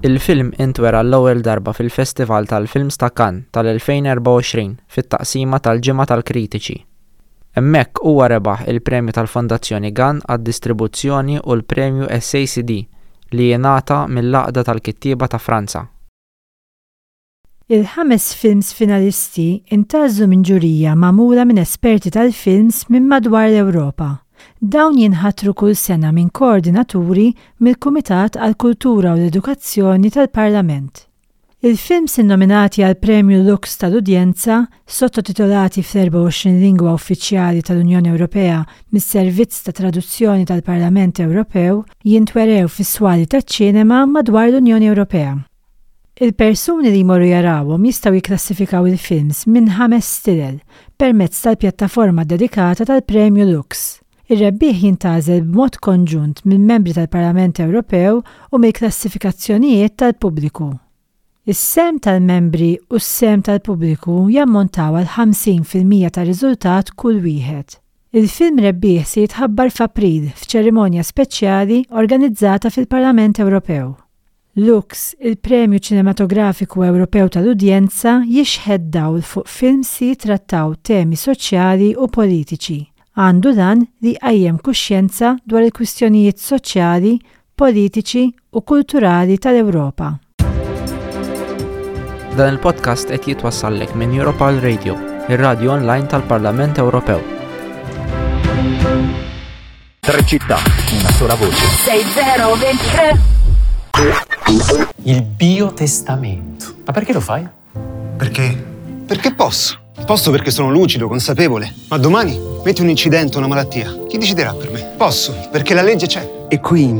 Il-film intwera l-ewwel darba fil-Festival tal-Films ta' Cannes tal-2024 fit-taqsima tal-Ġimgħa tal-Kritiċi. Hemmhekk huwa rebaħ il-Premju tal-Fondazzjoni Gann għad-Distribuzzjoni u l-Premju SACD li jingħata mill-Għaqda tal-Kittieba ta' Franza. Il-ħames films finalisti ntgħażlu minn ġurija magħmula minn esperti tal-films minn madwar l-Ewropa. Dawn jinħatru kull sena minn koordinaturi mill-Kumitat għall-Kultura u l-Edukazzjoni tal-Parlament. Il-films innominati għall-Premju Lux tal-Udjenza, sottotitolati fl-24 lingwa uffiċjali tal-Unjoni Ewropea mis-Servizz ta' Traduzzjoni tal-Parlament Ewropew, jintwerew fis-swali taċ-ċinema madwar l-Unjoni Ewropea. Il-persuni li jmorru jarawhom jistgħu jikklassifikaw il-films minn ħames stilel permezz tal-pjattaforma ddedikata tal-Premju Lux. Ir-rebbieħ jintgħażel b'mod konġunt mill-Membri tal-Parlament Ewropew u mill-klassifikazzjonijiet tal-pubbliku. Is-sehem tal-Membri u s-sehem tal-pubbliku jammontaw għal 50% tar-riżultat kull wieħed. Il-film rebbieħ se jitħabbar f'April f'ċerimonja speċjali organizzata fil-Parlament Ewropew. Lux, il-Premju Ċinematografiku Ewropew tal-Udjenza jixħet dawl fuq films li jittrattaw temi soċjali u politiċi. Għandu l-għan li jqajjem kuxjenza dwar il-kwistjonijiet soċjali, politiċi u kulturali tal-Ewropa. Dan il-podcast qed jitwassallek minn Europal Radio, ir-radju online tal-Parlament Ewropew. Tre città, una sola voce. 6023 Il biotestamento. Ma perché lo fai? Perché? Perché posso. Posso perché sono lucido, consapevole. Ma domani metti un incidente o una malattia. Chi deciderà per me? Posso, perché la legge c'è. E quindi?